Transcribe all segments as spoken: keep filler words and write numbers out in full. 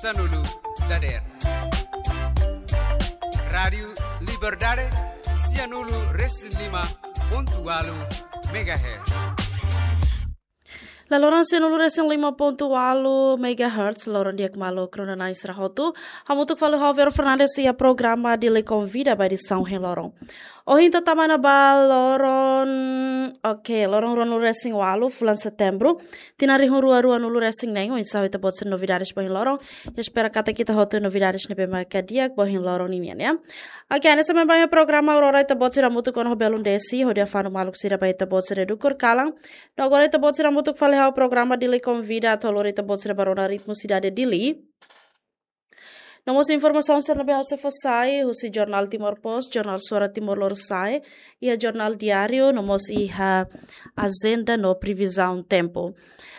Sanulu dader. Rádiu Liberdade, sianulu resin lima pontu walu megahertz. La loron sianulu resin lima pontu walu megahertz, loron di'ak malu kronanais rahotu. Hamutuk fali ho Vero Fernandes iha programa Dili Konvida ba edisaun ohin loron. Ohin ita tama ona ba loron, oke, loron ruanulu resin walu, fulan Setembru. Tinan rihun rua ruanulu resin neen, oinsá ita-boot sira novidades ba ohin loron. Espera katak ita hotu novidades ne'ebé mak di'ak ba ohin loron ninian, ya. Oke, hanesan ba programa Aurora ita-boot sira hamutuk ona ho belun desi, hodi afanu maluk sira ba ita-boot sira dukur kalan. No agora ita-boot sira hamutuk fali ho programa Dili Konvida, atu lori ita-boot sira ba rona ritmu sidade Dili. No mós informasaun sira ne'ebé ha'u sei fó sai, husi jornál Timor Post, jornál Suara Timor Lorosa'e, iha jornál Diáriu, no mós iha ajenda no previzaun tempu.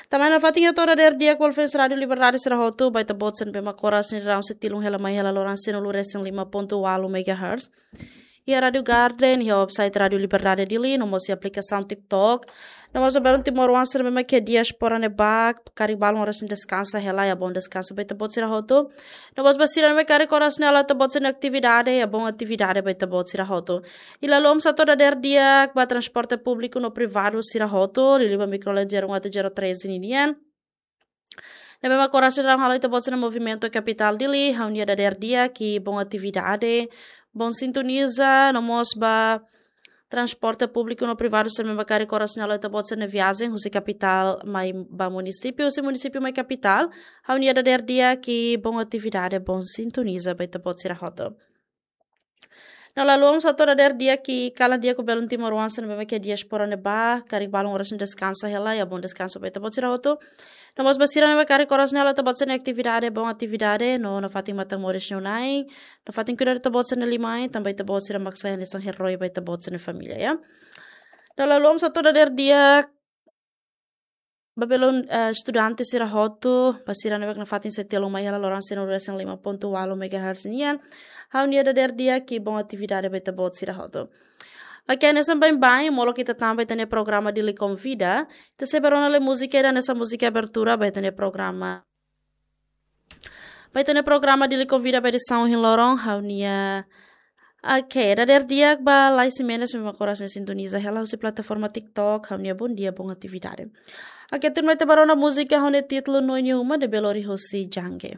Tanba ne'e nafatin hato'o dader di'ak ba fans Rádiu Liberdade sira hotu, ba ita-boot sira ne'ebé mak oras ne'e daudaun sei tilun hela mai hela loron sianulu resin lima pontu walu megahertz. Iha Rádiu Garden, iha website Rádiu Liberdade Dili, no mós iha aplikasaun TikTok. No mós ba belun timoroan sira ne'ebé mak iha diáspora ne'ebá, karik balun oras ne'e deskansa hela, iha boon deskansa ba ita-boot sira hotu. No mós ba sira ne'ebé karik oras ne'e halo ita-boot sira-nia atividade, iha boon atividade ba ita-boot sira hotu. I la haluha mós hato'o dader di'ak ba transporte públiku no privadu sira hotu, liuliu ba mikrolet zero um até zero treze ninian. Ne'ebé mak oras ne'e daudaun halo ita-boot sira-nia movimentu iha kapitál Dili, ha'u-nia dader di'ak i boon atividade, boon sintoniza, no mós ba transporte públiku no privadu sira ne'ebé mak karik oras ne'e halo ita-boot sira-nia viajen husi kapitál mai ba munisípiu, husi munisípiu mai kapitál, ha'u-nia dader di'ak i boon atividade, boon sintoniza ba ita-boot sira hotu. No la haluha mós hato'o dader di'ak i kalan di'ak ba belun timoroan sira ne'ebé mak iha diáspora ne'ebá, karik balun oras ne'e deskansa hela, iha boon deskansa ba ita-boot sira hotu. No mós ba sira ne'ebé karik oras ne'e halo ita-boot sira-nia atividade, boon atividade, no nafatin matan moris nia oin-ain, nafatin kuidadu ita-boot sira-nia liman-ain, tanba ita-boot sira mak sai hanesan eroi ba ita-boot sira-nia família, ya. No la haluha mós hato'o dader di'ak ba belun, eh, estudante sira hotu, ba sira ne'ebé mak nafatin sei tilun mai hela loron sianulu resin lima pontu walu megahertz nian. Ha'u-nia dader di'ak i boon atividade ba ita-boot sira hotu. Oke, hanesan baibain, molok ita tama ba ita-nia programa Dili Konvida, ita sei ba rona lai múzika ida hanesan múzika abertura ba ita-nia programa. Ba ita-nia programa Dili Konvida ba edisaun ohin loron, ha'u-nia, oke, dader di'ak ba Laís Ximenes, ne'ebé mak oras ne'e sintoniza hela husi plataforma TikTok, ha'u-nia bondia, boon atividade. Oke, tun mai ita ba rona múzika ho nia títulu Noin Uma, ne'ebé lori husi Jangge.